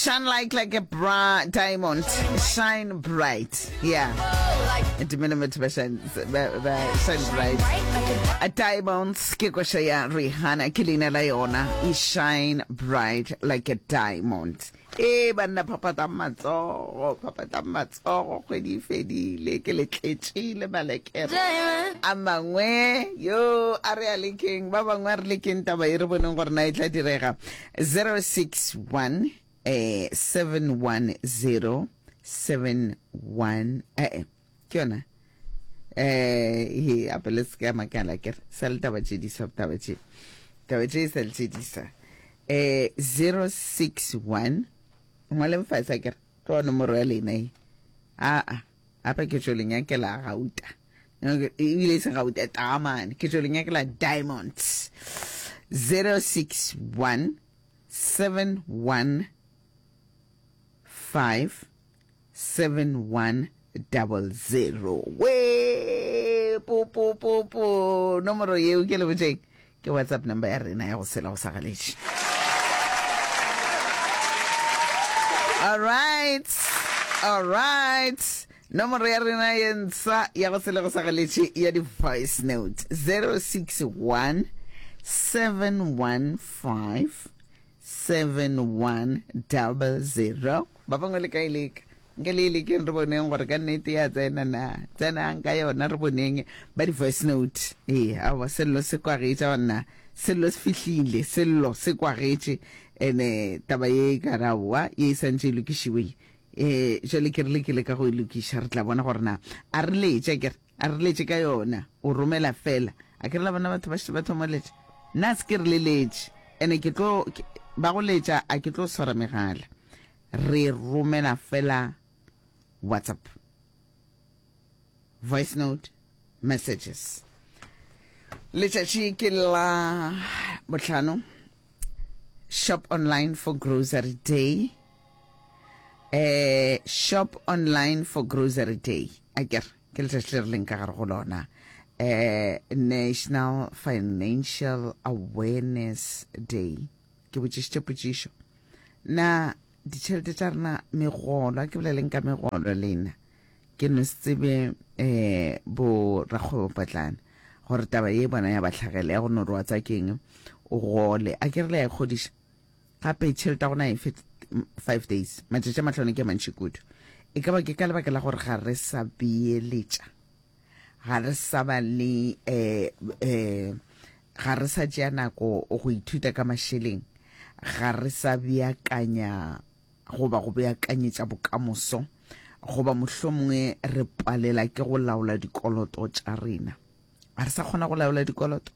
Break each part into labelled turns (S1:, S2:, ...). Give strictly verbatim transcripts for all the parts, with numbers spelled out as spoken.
S1: Shine like like a bra diamond. Shine bright. Yeah. Dumela batho ba shine ba, ba shine bright. A diamonds ke koša ya Rihanna ke leina la yona. E shine bright like a diamond. Ee banna phaphatang matsogo, phaphatang matsogo, kgwedi e fedile, ke le tletšile malekere a mangwe yo a re a lekeng, ba bangwe a re lekeng taba e re boneng gore na e tla direga. Zero six one eh seven one zero seven one eh ke yona eh he ape le se ka makala ke re sa le taba tše di sa taba tše taba tše e sa le tše di sa eh zero six one ngwaleng fase a ke re tloa nomoro ya lena e aa ape ke tšo le nyakela gauta ebile e se gauta taamane ke tšo le nyakela diamonds zero six one seven one five seven one double zero we po po po po nomoro yeo ke le botšeng ke whatsapp number ya rena ya go sela go sa galetše. All right, all right. Nomoro ya rena ye ntsha ya go sela go sa galetše ya di voice note zero six one seven one five seven one double zero. Ba bangwe le ka e leka. Nke le e lekeng re boneng gore ka nnete ya tsena na. Tsenang ka yona re boneng ba di voice note. Ee, aowa sello se kwagetše banna. Sello se fihlile, sello se kwagetše. Ene taba ye e ka re aowa ye e santše e lokišiwe. Eh, jwale ke rile ke leka go e lokiša, re tla bona gore na a re letše akere. A re letše ka yona, o romela fela. A ke re la bona batho ba šetše ba thoma go letša. Nna se ke re le letše. Ene ke tlo, ba go letša a ke tlo swara megala. Re romela fela WhatsApp voice note messages. Letšatši ke la bohlano. Shop online for grocery day. Eh, shop online for grocery day. A ke re ke letšatši le re leng ka gare go lona. Eh, National Financial Awareness Day. Ke botšišitše potšišo. Na ditšhelete tša rena, megolo, a ke boleleng ka megolo lena, ke no se tsebe um bo rakgwebopotlana gore taba ye bona ya ba hlagela ya go no re wa tsa keng o gole, a ke re le ya ikgodiša gape tšhelete ya gona e fe five days, matšatši a mahlano ke a mantši kudu. E ka ba ke ka lebaka la gore ga re sa beeletša, ga re sa ba le um um ga re sa tšea nako go ithuta ka mašeleng, ga re sa beakanya goba go beakanyetša bokamoso, goba mohlomongwe re palela ke go laola dikoloto tša rena. Ga re sa kgona go laola dikoloto,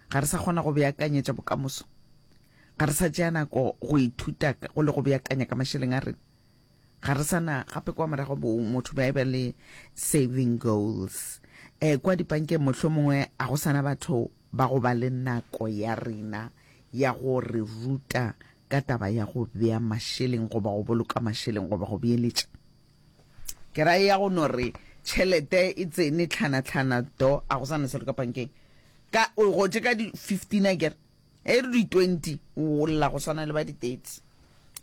S1: ga re sa kgona go beakanyetša bokamoso, ga re sa tšea nako go ithuta go le go beakanya ka mašeleng a rena. Ga re sa na gape kwa morago bo motho ba eba le saving goals. Eh, kwa dipankeng mohlomongwe a go sana batho ba go ba le nako ya rena ya go re ruta ka taba ya go bea mašeleng goba go boloka mašeleng goba go beeletša. Ke ra ya go no re tšhelete e tsene tlhana-tlhana do a go sana selo ka pankeng. Ka o gotše ka di fifteen akere e re di twenty o lla go swana le ba di thirty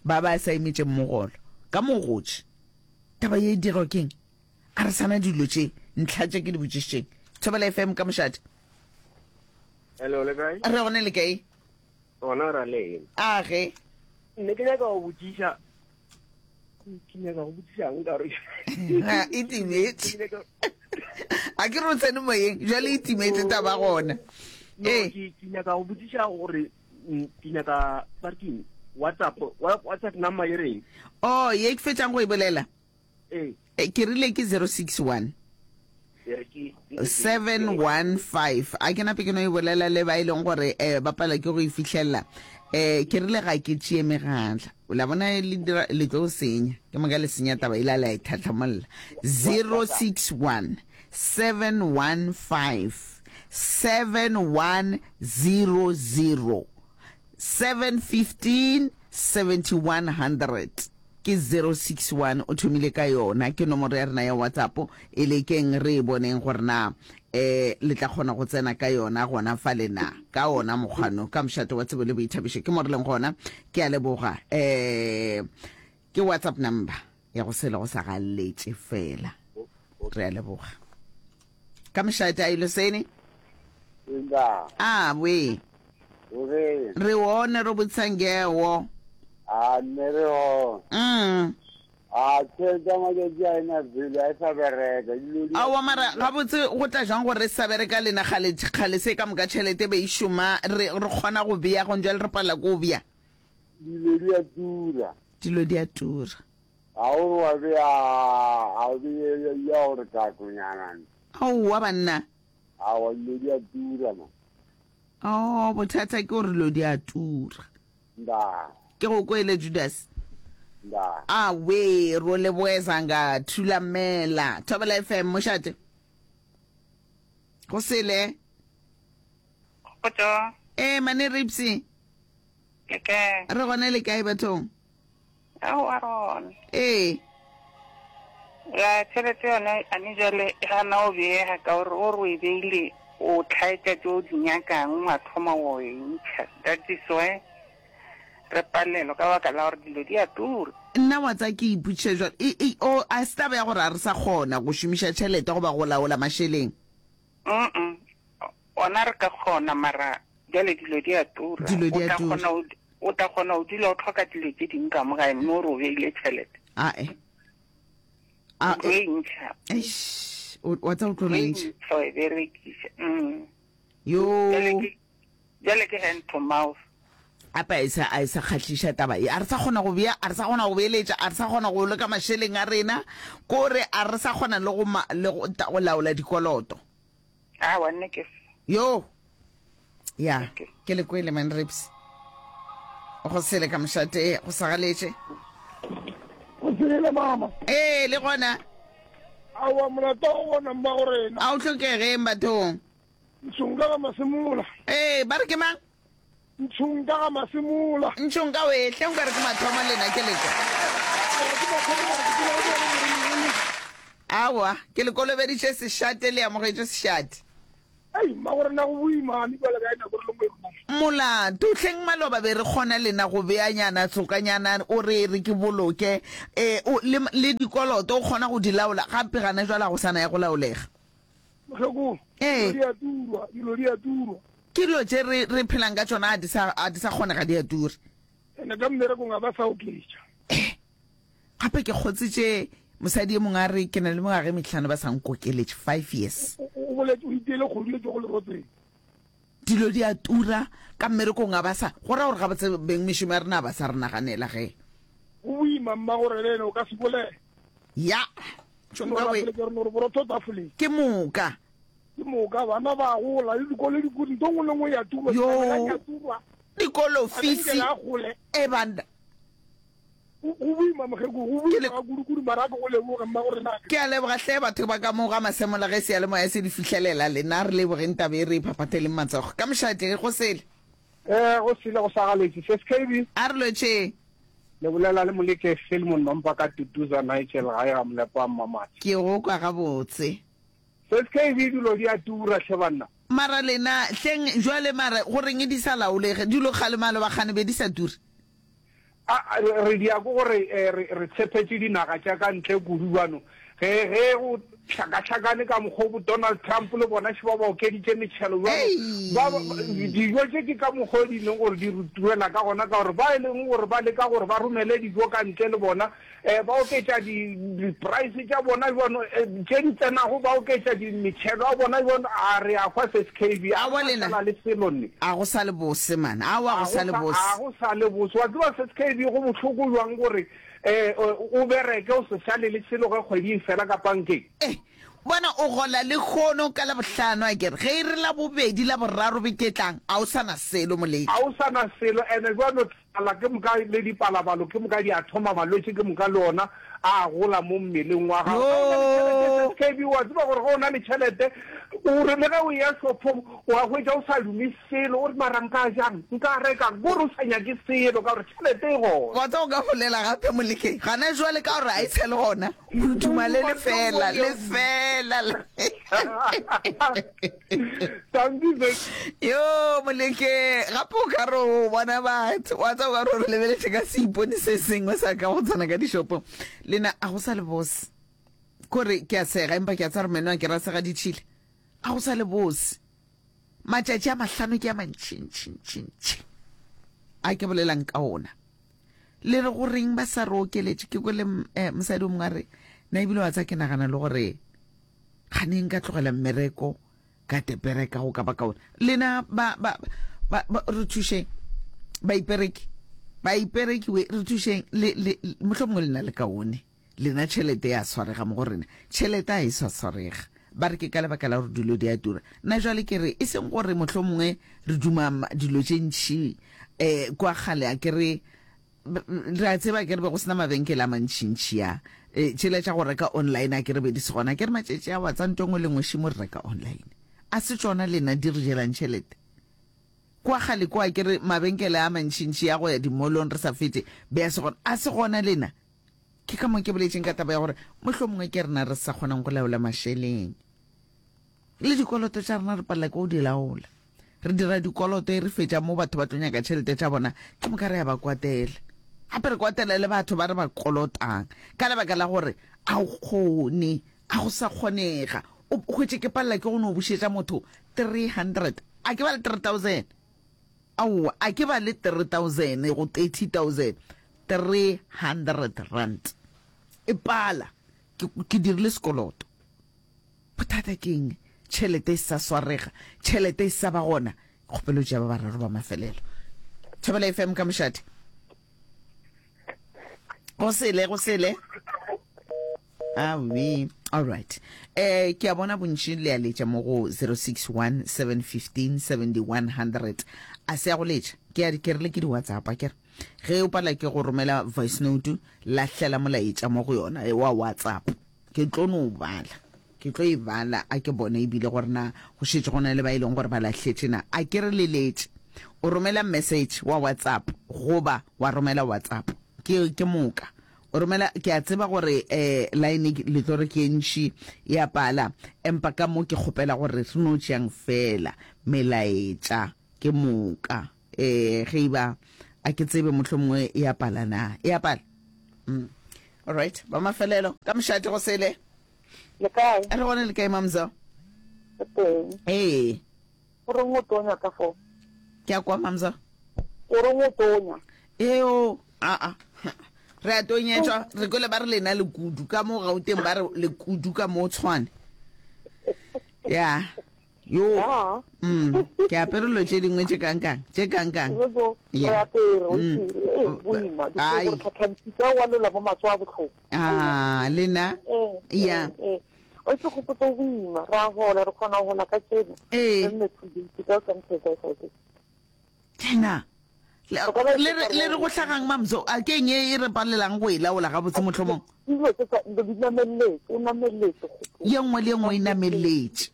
S1: ba ba sa emetšeng mogolo ka mo gotše. Taba ye e dirwa keng? A re sana dilo tše ntlha tše ke di botšišitšeng. Thobela F M ka mošate.
S2: Hello, le kae?
S1: Re gone, le kae?
S2: Gona ra lena.
S1: A ge.
S2: Nne ke nyaka go botšiša, ke nyaka go botšiša eng ka gore
S1: e timetše. A ke re o tsene moyeng, jwale e timetše taba gona.
S2: No,
S1: Ee.
S2: ke, ke nyaka go botšiša gore, mm, ke nyaka, ba re keng? WhatsApp, wa-, WhatsApp number e reng?
S1: Oh, ye ke fetšang go e bolela.
S2: Ee.
S1: E, ke rile ke zero six one seven one five. A ke nape ke no e bolela le ba e leng gore eh, ba palelwa ke go e fihlelela. Eh, ke rile ga ke tšee megatla. La bona le dira, le tlo senya. Ke moka le senya taba ile la e tlhatlhamolla. Zero six one seven one five seven one zero zero seven fifteen seventy one hundred. Ke zero six one, o thomile ka yona, ke nomoro ya rena ya WhatsApp, e lekeng re e boneng gore na eh le tla kgona go tsena ka yona gona fale na, ka ona mokgwano, ka mošate wa tsebo le boithabišo, ke mo re leng gona. Ke a leboga. Eh ke WhatsApp number ya go sele go sa galetše fela. Re a leboga. Ka mošate a ilosene?
S3: Inda.
S1: A we.
S3: Ore.
S1: Re one ro botsangewo.
S3: A nne re hona.
S1: Mm.
S3: A tšhelete ya matšatši a ena pele a e sa bereka. Dilo di
S1: Aowa mara gabotse go tla jwang gore re sa bereka lena kgale kgale se ka moka tšhelete be e šoma re re kgona go bea gong jwale re palela ke go bea.
S3: Dilo di a tura.
S1: Dilo di a tura.
S3: Ga o re wa bea ga o beye ya gore kakonyana.
S1: Aowa banna.
S3: Aowa dilo di a tura ma.
S1: Oh bothata ke gore dilo di a tura.
S3: Nda.
S1: Ke go kwele Judas.
S3: Nda.
S1: Awe ro leboeza nga Thulamela. Thobela F M mošate. Go sele.
S4: Kgotso.
S1: Eh mane Ripsy.
S4: Le kae?
S1: Re gona le kae bathong?
S4: Aowa rona.
S1: Ee.
S4: Ya tšhelete yona a ne jwale e gana o beega ka gore o re o e beile o tlhaetša tše o di nyakang wa thoma o e ntšha. That is why re palelwa ka baka la gore dilo di a tura.
S1: Nna wa tsaya ke ipotšiša jwalo, e, e, o, a se taba ya gore a re sa kgona go šomiša tšhelete goba go laola mašeleng?
S4: Mm-mm. Ona re ka kgona, mara bjale dilo di a tura.
S1: Dilo di
S4: O
S1: a
S4: tla
S1: tura.
S4: kgona go, o tla kgona go dula o tlhoka dilo tše dingwe ka mo gae, mme o re o beile tšhelete.
S1: Ae. A,
S4: O tlo e ntšha.
S1: Eish, o, wa tseba o tlo
S4: O e
S1: ntšha.
S4: ntšha, wa e berekiša. Mm.
S1: Yo.
S4: Bjale ke, bjale ke hand to mouth.
S1: Gape a e sa, a e sa kgahliša taba ye. A re sa kgona go bea, a re sa kgona go beeletša, a re sa kgona go boloka mašeleng a rena, kore a re sa kgona le go ma, le go, ta, go laola dikoloto.
S4: Aowa, nne ke se.
S1: Yo. Ya,
S4: Okay.
S1: ke le kwele man Rips. Go sele ka mošate, go sa galetše.
S5: Go sele mama.
S1: Ee, le gona.
S5: Aowa, molato wa go bona mmago rena.
S1: A o hlokegeng bathong?
S5: Ntšhonka ga Masemola.
S1: Ee, ba re ke mang?
S5: Ntšhonka ga Masemola.
S1: Ntšhonka we, hle nka re ke mathomo lena ke lekwa. Aowa, ke le kolobeditše sešate le amogetše sešate.
S5: Ei, mmago rena go boima, mme bjale ka nako re le mo e rona.
S1: Molato, hleng maloba be re kgona lena go beanyana tsokanyana o re re ke boloke, eh, o, le, le dikoloto o kgona go di laola, gape gana jwale ga go sana ya go laolega.
S5: Mokgekolo,
S1: Ee.
S5: dilo di a turwa, dilo di a turwa.
S1: Ke dilo tše re, re phelang ka tšona, a di sa, a di sa kgonega, di a tura.
S5: Ene ka mmerekong ga ba sa oketša.
S1: Eh, gape ke kgotsitše mosadi e mongwe a re ke na le mengwaga e mehlano ba sa nkokeletše, five years.
S5: O, o, o boletse o iteile kgodu e tšwago lerotseng.
S1: Dilo di a tura ka mmerekong ga ba sa, go ra gore gabotse beng mešomo ya rena ba sa re naganela ge.
S5: Go boima mma gore le ene o ka se bolele.
S1: Ya. Tšhonka we.
S5: Ke re borotho tafoleng.
S1: Ke moka.
S5: Ke moka bana ba gola le dikolo di kudu, ntho nngwe le nngwe ya turwa,
S1: Yo.
S5: ya turwa.
S1: Dikolo fisi.
S5: A gole.
S1: E banda.
S5: Go boima mokgekolo, go boima ga kudu-kudu, mara a ke go leboge mma gore na.
S1: Ke a leboga hle batho ba ka mo ga Masemola ge seyalemoya se di fihlelela lena, re lebogeng taba e re e phaphatheleng matsogo. Ka mošate go sele.
S6: Eh, go sele go sa galetše. Se S K B.
S1: A re lotšhe.
S6: Le bolela le Moleke Philemon Mampa ka Tutuza Nigel gae ga Molepo wa Mmamatsi.
S1: Ke go kwa gabotse.
S6: Se S K B dilo di a tura hle banna.
S1: Mara lena hleng jwale mara go reng di sa laolege dilo kgale maloba kgane be di sa ture.
S6: A, re di ya ko gore, eh, re, re tshepetše dinaga tša ka ntle kudu bano. Ge, ge go hlakahlakane ka mokgwa bo Donald Trump le bona še ba ba okeditše metšhelo bjalo.
S1: Ei.
S6: Ba, ba, dijo tše ke ka mokgwa o di leng gore di re turela ka gona, ka gore ba e leng gore ba leka gore ba romele dijo ka ntle le bona, eh, ba oketša di, di-price tša bona bjano, eh, tše di tsenago ba oketša di metšhelo a bona bjano, a re a hwa S K B, a
S1: Aowa
S6: go
S1: lena.
S6: sa le selo nne.
S1: A go sa le bose, man. Aowa, go
S6: A
S1: sa
S6: go
S1: le
S6: sa,
S1: bose.
S6: a go sa le bose. Wa tseba S K B go bohloko jwang gore, eh, o bereke o se šale le selo ge kgwedi e fela ka bankeng.
S1: Eh, bona o gola le kgono ka la bohlano a kere ge e re la bobedi la boraro beketlang a o sana selo moleki.
S6: A o sana selo, ene jwalo Ala ke moka le dipalabalo ke moka di a thoma malwetši ke moka le ona a gola mo mmeleng wa gago. Ge o na le tšhelete
S1: Yo.
S6: S K B wa tseba gore ge o na le tšhelete o re le ge o eya shopong wa hwetša o sa dume selo o re mara nka jang nka rekang ko re o sa nyake selo ka gore tšhelete e gona.
S1: Wa tseba o ka bolela gape Molekeng gana jwale ka gore ga e sa le gona o duma le lefela lefela.
S6: Tanki
S1: Yo Moleke gape o ka re o bona batho wa tseba o ka re o re lebeletše ka seipone se sengwe sa ka go tsena ka dishopong lena a go sa le bose kore ke a sega empa ke a tseba gore meno a ke ra sega ditšhila a go sa le bose matšatši a mahlano ke a mantšintšintšintši a ke bolelang ka ona le re goreng ba sa re okeletše ke kwele eh, mosadi o mongwe a re na ebile wa tsa ke nagana le gore kgane nka tlogela mmereko ka tepereka go ka ba kaone lena ba ba ba, ba re thušeng baipereki baipereki we re thušeng le le mohlomongwe lena le kaone lena tšhelete ya swarega mo go rena tšhelete a e sa swarega ba re ke ka lebaka la gore dilo di a tura nna jwale ke re e seng gore mohlomongwe re duma ma- dilo tše ntšhi um kwa kgale a ke re re a tseba ke re be go sena mabenkele a mantšintši a e, tšela tša go reka online a ke re be di se gona ke re matšatši a wa tsa nto ngwe le nngwe šimo re reka online a se tšona lena di re jelang tšhelete kwa kgale kwa ke re mabenkele a mantšintši a go ya dimolong re sa fete be a se gona a se gona lena ke ka mo ke boletšeng ka taba ya gore mohlomongwe ke rena re sa kgonang go laola mašeleng le dikoloto tša rena re palela ke go di laola re dira dikoloto e re fetša mo batho ba tlo nyaka tšhelete tša bona ke moka re ya ba kwatela gape re kwatela le batho ba re ba kolotang ka lebaka la gore a o kgone a go sa kgonega o hwetše ke palela ke go no bušetša motho three hundred a ke ba le three thousand aowa a ke ba le three thousand go thirty thousand three hundred rand e pala ke, ke dirile sekoloto bothata ke eng tšhelete e sa swarega tšhelete e sa ba gona kgopelo tša ba bararo ba mafelelo Thobela F M ka mošate go sele go sele awe all right eh ke a bona bontši le a letša mo go zero six one seven fifteen seventy one hundred a se ya go letša ke a ke rile ke di WhatsApp a ke re ge o pala ke go romela voice note lahlela molaetša mo go yona eh, wa WhatsApp ke tlo no bala ke tlo e bala a ke bone ebile gore na go šetše go na le ba e leng gore ba lahletše na a ke re leletše o romela message wa WhatsApp goba wa romela WhatsApp ke ke moka o romela ke a tseba gore eh line le tlo re ke e ntši ya pala empa ka mo ke kgopela gore re no tšeang fela melaetša ke moka eh ge e ba a ke tsebe mohlomongwe e a pala na e a pala mm. all right ba mafelelo ka mošate go sele
S4: Le kae?
S1: re gone le kae mamzo
S4: Re teng.
S1: ee
S4: O reng o tonya ka fo?
S1: Ke a kwa mamzo
S4: O reng o tonya?
S1: Eo a a re a tonyetšwa re kwele ba re lena lekudu ka mo Gauteng ba re lekudu ka mo Tshwane ya yo
S4: Ya.
S1: mm ke apere dilo tše dingwe tše kankang tše kankang
S4: Re
S1: Yeah.
S4: apere, o
S1: Mm.
S4: itse, e boima.
S1: Ai.
S4: Di gore tlhatlhantshitse wa lola mo matsoho a bohloko.
S1: ah lena
S4: Eh,
S1: Ya.
S4: eh, eh. O itse gopotsa o boima, ra hola, re kgona ho hola ka tseno.
S1: Ee.
S4: Re nne two days, ka o sa ntshwetsa e sa etse.
S1: lena le
S4: O ka ba
S1: le re le re go hlagang mamzo a ke eng e re palelang go e laola gabotse mohlomong
S4: Dilo tse tsa- di nameletse, o nameletse kgopolo.
S1: ye nngwe le ye nngwe e nameletse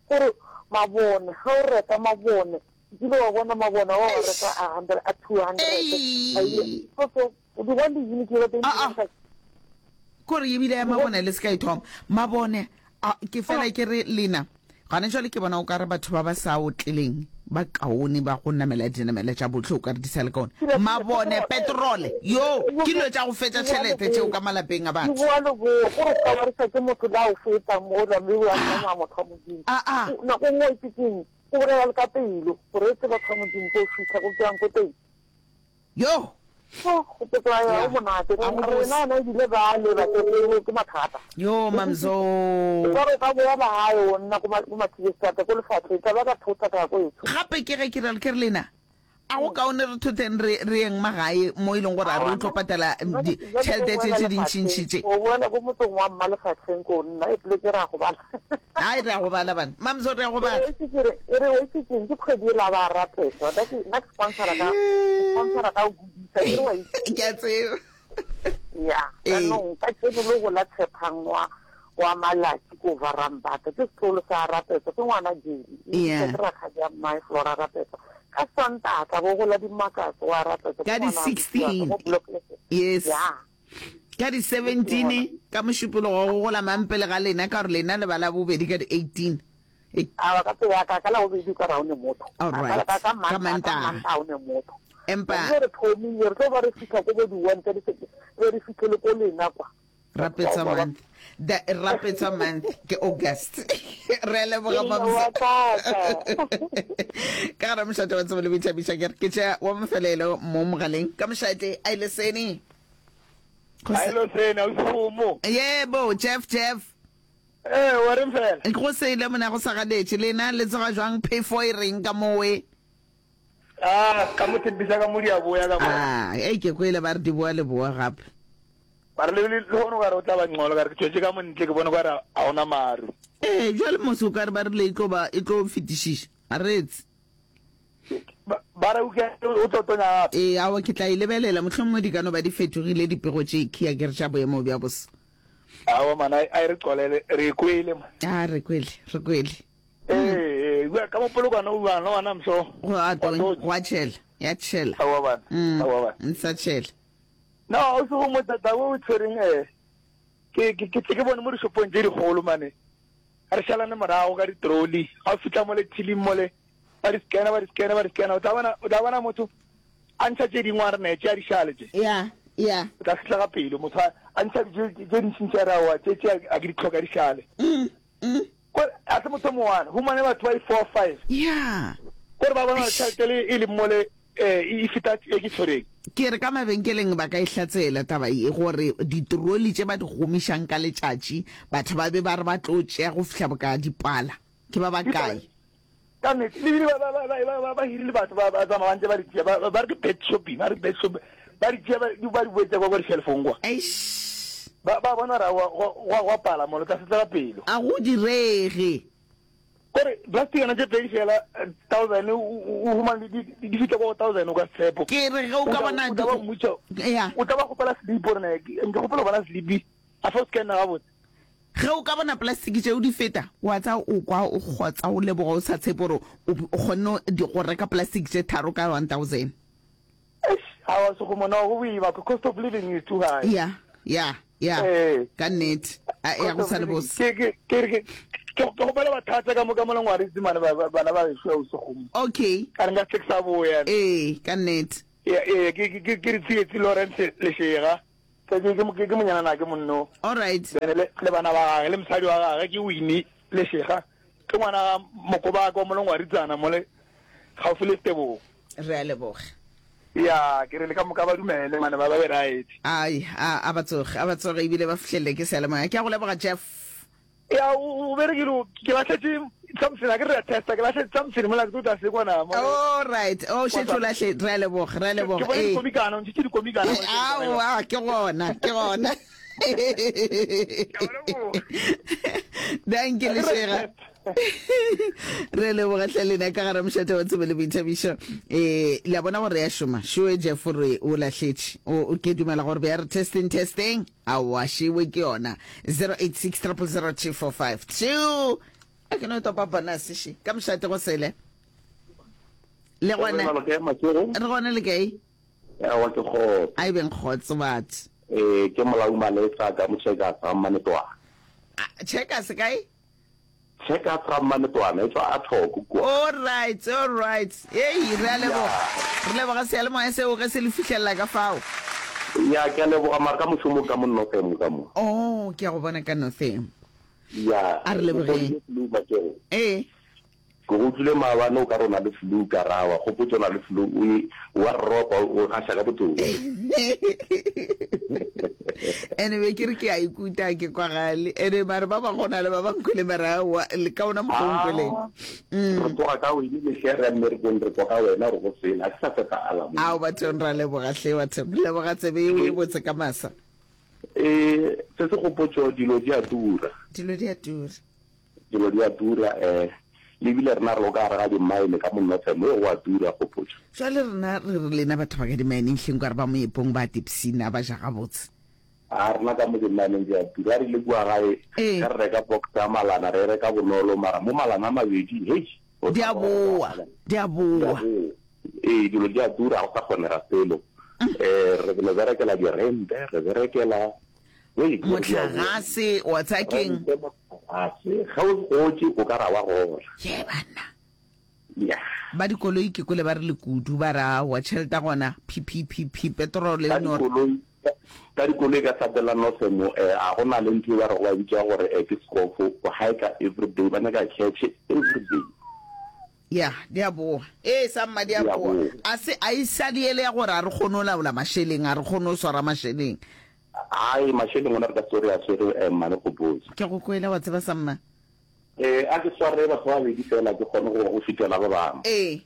S4: Gore mabone, ge o reka mabone, nkile wa bona mabone wa wa reka a hundred, a two hundred.
S1: Ei.
S4: A ile- So, so, o di bona di-unit tse teng
S1: Ah, ah. Kore ebile ya mabone le se ka e thoma mabone a ke fela ke re lena gane jwale ke bona o ka re batho ba ba sa otleleng ba kaone ba go namela dinamela tša botlhe o ka re di sa le kaone mabone petrole yo ke dilo tša go fetša tšhelete tšeo ka malapeng a
S4: Di
S1: batho
S4: boa le boa gore o ka warisa ke motho la o feta mola mme o a tsamaya motho wa Modimo.
S1: Ah, ah.
S4: O- nako nngwe o itse keng o bolela le ka pelo gore e tse batho ba Modimo ko fitlha ko ke yang ko teng
S1: yo
S4: Oh, go petsa ya
S1: Yeah.
S4: o monate
S1: A go bose.
S4: rena ona ebile ba leba ke ke mathata
S1: yo mamzo
S4: ka re ka boa magae o nna ko ma- ko Mathibestata ko lefatlheng tla ba ka thota ka ya ko etsho
S1: gape ke ge ke re ke re lena A go kaone re thotheng re re yeng magae mo e leng gore a re o tlo patala ditšhelete tše tše dintšintši tše.
S7: O boela ko motseng wa mma lefahleng ko nna e poleke re a go bala.
S1: Ai re a go bala bana. Mamzo re a go bala.
S7: E re e re o itse keng ke kgwedi e la ba rapetsa. Nna ke nna ke sponsora ka sponsora ka go godisa ke re wa itse.
S1: Ke a tseba.
S7: Ya, jaanong ka keno le go la Tshepang wa wa Malaki ko Varambata ke setlogolo sa Rapetsa ke ngwana Jeli.
S1: Yeah.
S7: Ke rakgadi ya mmae Flora Rapetsa. Ka Sontaga tla bo gola dimakatso wa Rapetsa
S1: Ka
S7: ke
S1: di
S7: ngwana wa
S1: sixteen.
S7: Mo block F.
S1: Yes.
S7: Ya.
S1: Ka di seventeen ka Mošupologo go gola mang pele ga lena ka gore lena le ba la bobedi ka di eighteen. E
S7: Awa ka pele ya ka ka la bobedi ka ra o ne motho.
S1: All
S7: Ka
S1: right.
S7: ka ka
S1: Ka
S7: Mantaga ka
S1: Mantaga.
S7: Mantaga o ne motho.
S1: Empa
S7: Re re thomile re tlo ba re fihla ko bo di one tsa di re re fihlele ko lena kwa.
S1: Rapetsa month. The Rapetsa month ke August. Re a leboga
S7: Ee,
S1: Mamzo.
S7: wa tata.
S1: Ka gare mošate wa tsebo le boithabišo ke re ke tšea wa mafelelo mo mogaleng ka mošate a ile sene. Go se-
S5: Ailo sena o segomo.
S1: Yebo Jeff Jeff.
S5: Eh, wa reng fela?
S1: Go sele mona go sa galetše lena le tsoga jwang phefo e reng ka mowe.
S5: Ah, ka mo tshepisa ka mo di a boya ka mo.
S1: Ah, ei ke kwele ba re di boa le boa gape.
S5: Ba re le le gone o ka re o tla ba ngcono ka re ke tšwetše ka montle ke bone ka re a ona maru.
S1: Ee, jwale mose o ka re ba rile e tlo ba e tlo fetišiša. A retse.
S5: Ba ba re o ke o tlo tonya gape.
S1: Ee, aowa ke tla e lebelela mohlomongwe di ka no ba di fetogile dipego tše khia ke re tša boemo bja boso.
S5: Aowa mana a e re qolele re e kwele man.
S1: A re kwele, re kwele.
S5: Ee, ee, ka mo polokwana o bana wana mso.
S1: Go a tonya, go a tšhela, ya tšhela.
S5: Aowa bana.
S1: Mm,
S5: Aowa bana.
S1: nsa tšhela.
S5: No, o se go mo tata o tshwereng eh ke ke ke ke bone mo dishopong tse dikgolo mane. Re šalane morago ka di-trolley. Ga o fihla mo le tilling mo le ba di scanner ba di scanner ba di scanner o tla bona o tla bona motho a ntšha tše dingwe a re ne tše a di šale tše.
S1: Ya, ya.
S5: O tla fihla ka pelo motho a a ntšha tše tše dintšintši a re aowa tše tše a ke di tlhoka di šale.
S1: Mm, mm.
S5: Kore a se motho o mongwana humane batho ba i-four five.
S1: Ya.
S5: Kore ba bona tšhelete le e leng mole eh e feta e ke tshwereng.
S1: Ke re ka mabenkeleng ba ka e hlatsela taba ye gore ditroli tše ba di gomišang ka letšatši batho ba be ba re ba tlo tšea go fihla boka dipala ke ba bakae.
S5: Ka nnete le bile ba ba ba ba ba ba hirile batho ba ba tsamaya ba ntse ba di tšea ba ba re ke bed shopping ba re bed shopping ba di tšea ba di ba di boetsa kwa kwa di-shelfong kwa.
S1: Eish.
S5: Ba ba bona ra wa wa wa pala mole tla setlela pelo.
S1: A go direge.
S5: Kore plasticana tše pedi fela thousand o o humane di di fihla kwa go thousand o ka tshepo.
S1: Ke re ge o ka bona
S5: o tla ba mmotša
S1: Ya.
S5: o tla ba kgopela slip gore ne ke kgopela go bona slip a fa o scanna gabotse.
S1: Ge o ka bona plastic tšeo di feta wa tsa o kwa o kgotsa o leboga o sa tshepe gore o o kgonne go reka plastic tše tharo ka one thousand.
S5: Eish, aowa Sekgomo no go boima cost of living is too high.
S1: Ya, ya, ya.
S5: Ee.
S1: Ka nnete. A ya go sa le bose.
S5: Ke ke ke re ke ke kgopela bathatsa ka mo ka mo lengwaritse mane ba ba- bana ba gešo o Sekgomo.
S1: Okay.
S5: Ka re nka se ke sa boya.
S1: Ee, ka nnete.
S5: Ee, ee, ke ke ke re Tsietsi Lawrence Lešega. Ke ke ke ke monyana na ke monno.
S1: All right.
S5: Then le le bana ba gage le mosadi wa gage ke Winnie Lešega. Ke ngwana ga Mokobaka wa mo lengwaritsana mo le gaufi le Tebogo.
S1: Re a leboga.
S5: Ya, ke re le ka moka ba dumele mane ba ba be right.
S1: Ai, a a ba tsoge, a ba tsoge ebile ba fihlelele ke seyalemoya. Ke a go leboga Jeff.
S5: Ya, o o berekile ke lahletše something a ke re a testa ke lahletše something mola ke tlo tla se kwana mo.
S1: All right. Oh, šetše o lahle, re a leboga, re a
S5: Ke
S1: leboga.
S5: bone
S1: Ee.
S5: dikomikana, o ntšhitše dikomikana.
S1: Aowa, ke gona, ke gona. Danke Lešega. Re leboga hle lena ka gare mošate wa tsebo le boithabišo. Eh, le a bona gore ya šoma. Šoe Jeff re o lahletše. O ke dumela gore be ya re testing testing. Aowa, šewe ke yona. zero eight six triple zero two four five two. A ke no topa bonus še. Ka mošate go sele. Le gona. Re gona le kae?
S8: Aowa ke kgotso.
S1: A e beng kgotso batho.
S8: Eh, ke Molaodi Malesa ka mo Checkers ga Mmanetwana.
S1: Checkers kae?
S8: Checkers ga Mmanetwana e tswa a thoko kua.
S1: All right, all right. Ei, re a leboga. Re leboga seyalemoya seo ge se le fihlelela ka fao.
S8: Ya, ke a leboga mara ka mošomo ka mo Northam ka mo.
S1: Oh, ke a go bona ka Northam.
S8: Ya.
S1: A re lebogeng.
S8: Ke flu bakeng.
S1: Ee.
S8: Ke go utlwile maabane o ka re o na le flu ka ra wa gopotse o na le flu o e wa ropa o gaša ka botong.
S1: Anyway, ke re ke a ikuta ke kwagale. Ene mare ba ba gona le ba ba nkwele mara aowa le ka ona mokgwa o nkweleng.
S8: Ah, re tloga ka wene mehle re ya mmerekong re kwa ka wena gore go sele a ke sa fepa alarm.
S1: Ao bathong ra leboga hle bathong. Leboga tsebe yeo e botse ka masa.
S8: Eh, se se gopotšo dilo di a tura.
S1: Dilo di a tura.
S8: Dilo di a tura eh le bile rena re lo ka gare ga di-mine ka mo Northam e go a tura gopotšo.
S1: Jwale rena re re lena batho ba ka di-mineng hleng kwa re ba moepong ba tipsina ba ja gabotse.
S8: A rena ka mo di-mineng di a tura. A re ile kua gae
S1: Ee.
S8: ge re reka box ya malana re e reka bonolo mara mo malana a mabedi hei o
S1: Di
S8: tla
S1: a
S8: bona gore
S1: boa,
S8: malana
S1: di a
S8: di a
S1: boa.
S8: boa. Ee dilo di a tura ga go sa kgonega selo. Eh re no berekela di-rente re berekela hei dilo di a boa.
S1: Mohlagase wa tsaya keng?
S8: Rente mohlagase ge o gotše o ka ra wa gola.
S1: Ye banna.
S8: Yeah.
S1: Ba dikoloi ke kwele ba re le kudu ba re aowa tšhelete ya gona phi phi phi phi petrol
S8: Ka
S1: e no re.
S8: dikoloi ka dikoloi ka Sapela Northam eh a go na le ntho e ba rego ba bitša gore eh ke scoff o hiker everyday ba nyaka cash everyday.
S1: Ya, di a boa. Ee, samma di a
S8: Di a
S1: boa.
S8: boa.
S1: A se a e sa le ele ya gore a re kgone go laola mašeleng, a re kgone go swara mašeleng.
S8: Ai mašeleng ona re ka se re a swere eh mmane Gopotso.
S1: Ke go kwele wa tseba samma.
S8: Eh a ke sware batho ba babedi fela ke kgone go go fitela ba bangwe.
S1: Ee.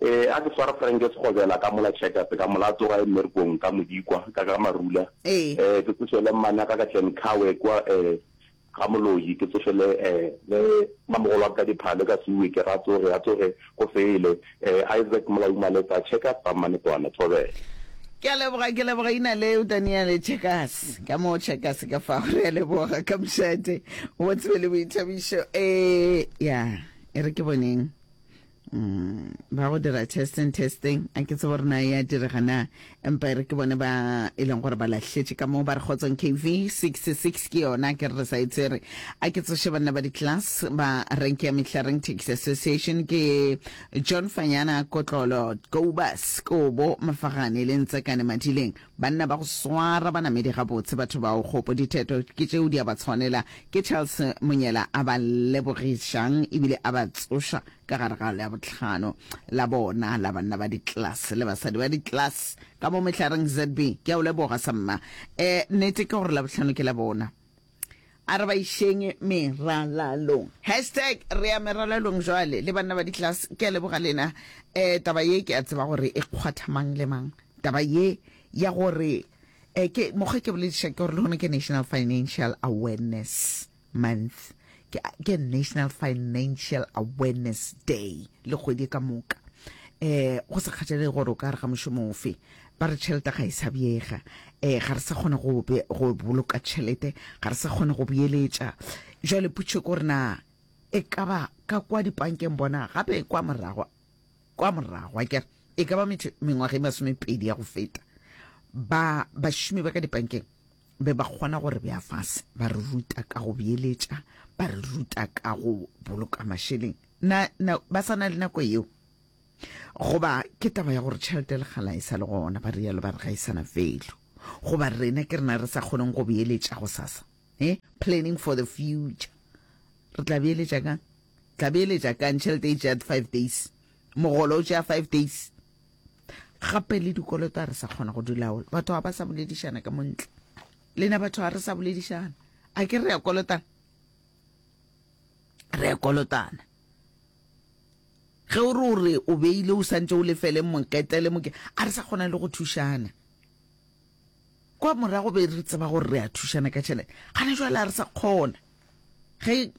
S8: Eh a ke sware Frank Sekgobela ka mola Checkers ka mola tsoga e mmerekong ka Modikwa ka ka Marula.
S1: Ee.
S8: Eh ke tsošele mmane ka ka Tlenkawe kwa eh ga Moloi ke tsošele eh le mamogolo wa ka diphale ka Suwe ke ra tsoge a tsoge go fele eh Isaac Molauma Maletsa Checkers ba Mmanetwana Thobela.
S1: Ke a leboga, ke leboga ina leo Daniel Checkers ka mo Checkers ka fa re a leboga ka mošate wa tsebe le boithabišo eh ya e re ke boneng mm, ba go dira testing testing a ke tsebe gore na ya direga na empa e re ke bone ba e leng gore ba lahletše ka moo ba re kgotsong K V sixty-six ke yona ke re re sa e tsere a ke tsoše banna ba di-class ba renke ya Mehlareng Taxi Association ke John Fanyana Kotlolo Kobas Kobo Mafagane le Ntsekane Madileng banna ba go swara banamedi gabotse batho bao kgopo ditheto ke tšeo di a ba tshwanela ke Charles Monyela a ba lebogišang ebile a ba tsoša ka gare ga la botlhano la bona la banna ba di-class le basadi ba di-class ka mo Mehlareng Z B ke a o leboga samma eh nnete ke gore la botlhano ke la bona a re ba išeng meralalong hashtag re ya meralalong jwale le banna ba di-class ke a leboga lena eh taba ye ke a tseba gore e kgwatha mang le mang taba ye ya gore eh ke mokgwa ke bolediša ke gore le gona ke National Financial Awareness Month ke, ke National Financial Awareness Day le kgwedi ka moka eh go sa kgathalege gore o ka re ga mošomo ofe ba re tšhelete ga e sa beega eh ga re sa kgone go be, go boloka tšhelete ga re sa kgone go beeletša jwale potšo ke gore na e ka ba ka kwa dipankeng bona gape kwa morago kwa morago akere e ka ba mengwaga e masomepedi ya go feta ba bašomi ba ka dipankeng be ba kgona gore bea fase ba re ruta ka go beeletša ba re ruta ka go boloka mašeleng na, na ba sa na le nako yeo goba ke taba ya gore tšhelete le gala e sa le gona ba rialo ba re ga e sana value goba rena ke rena re sa kgoneng go beeletša go sasa eh planning for the future re tla beeletša kang tla beeletša kang tšhelete e tšea five days mogolo o tšea five days gape le dikoloto a re sa kgona go di laola batho ga ba sa boledišana ka montle lena batho ga re sa boledišana a ke re ya kolotana re ya kolotana ge o re o re o beile o santse o lefele mokete le moke a re sa kgona le go thušana kwa morago be re tseba gore re a thušana ka tšhelete gana jwale a re sa kgona ge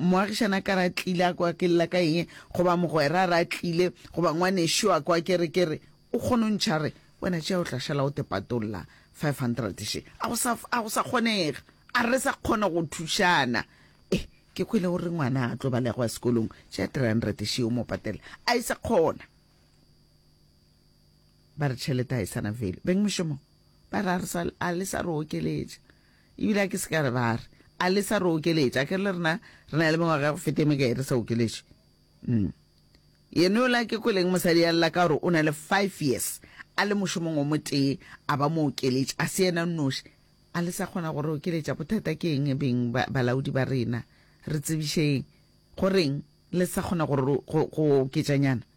S1: moagišana ka ra tlile a kwa ke lla ka eng goba mogwera ra tlile goba ngwanešo a kwa ke re ke re o kgone o ntšha re wena tšea o tla šala o te patolla five hundred še a go sa a go sa kgonega a re sa kgona go thušana eh ke kwele gore ngwana a tlo balega sekolong tšea three hundred še o mo patela a e sa kgona ba re tšhelete a e sana value beng mošomo ba re a re sa a le sa re okeletša ebile a ke se ka re ba re a le sa re okeletša ke re le rena re na le mengwaga ya go feta e mekae re sa okeletše mm. Yena yola ke kweleng mosadi ya lla ka gore o na le five years a le mošomong o motee a ba mo okeletša a se yena nnoši a le sa kgona gore okeletša bothata ke eng beng balaodi ba rena re tsebišeng goreng le sa kgona gore go oketšanyana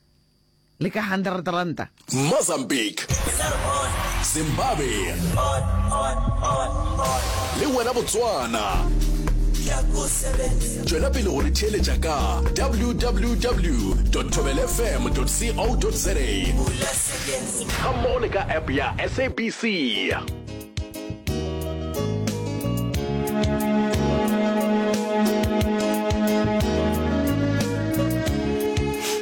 S1: le ka hundred ranta
S9: Mozambique, Zimbabwe le wena Botswana. Tšwela pele go re theeletša ka www dot thobelfm dot co dot za gammogo le ka app ya S A B C.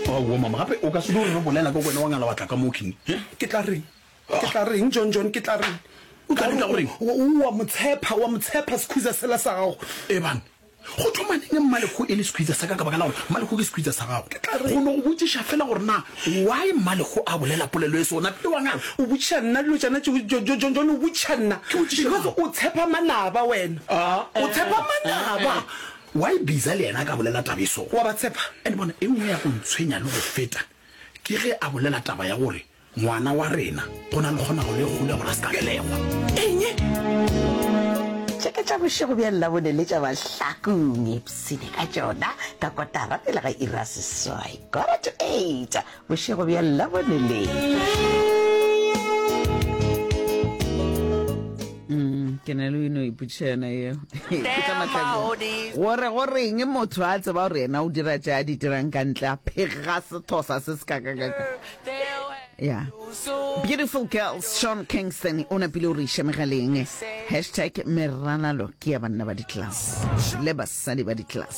S10: Aowa mama, gape o ka se no re re bolela ka wena wa ngala wa tla ka mo king?
S11: Ke tla reng? Ke tla reng, John John, ke tla reng?
S10: O tla reng ka goreng?
S11: O, o a mo tshepa, o a mo tshepa sekhutsa sela sa gago.
S10: Ebang, go thoma neng Mmalekhu e le sekhutsa sa ka ka baka la gore Mmalekhu ke sekhutsa sa gago?
S11: Ke tla reng?
S10: Go no go botšiša fela gore na why Mmalekhu a bolela polelo e so, napile wa ngala?
S11: O botšiša nna dilo tšona tšeo, Jo, Jo, John John, o botšiša nna.
S10: Ke botšiša
S11: Because
S10: mang?
S11: o tshepa manaba wena.
S10: Ah,
S11: O tshepa manaba.
S10: eh, why Biza le yena a ka bolela taba e so?
S11: Wa ba tshepa?
S10: And bona, e nngwe ya go ntshwenya le go feta ke ge a bolela taba ya gore Ngwana wa rena, go na le kgonagalo e kgolo ya gore a se ka belegwa.
S11: Eng?
S1: Tše ke tša bošego bja Labone le tša Mahlakong. Ipshine ka tšona ka kotara pele ga iri ya seswai, quarter to eight, bošego bja Labone le. Mm, ke na le o ino ipotšiša yona yeo. Ke tša Mahlakong. Gore go reng motho a tseba gore yena o dira tše a di dirang ka ntle a phega sethosa se se kakakaka. Yeah. Beautiful girls, Sean Kingston o napile o re iša megaleng. Hashtag meralalo ke ya banna ba di-class le basadi ba di-class.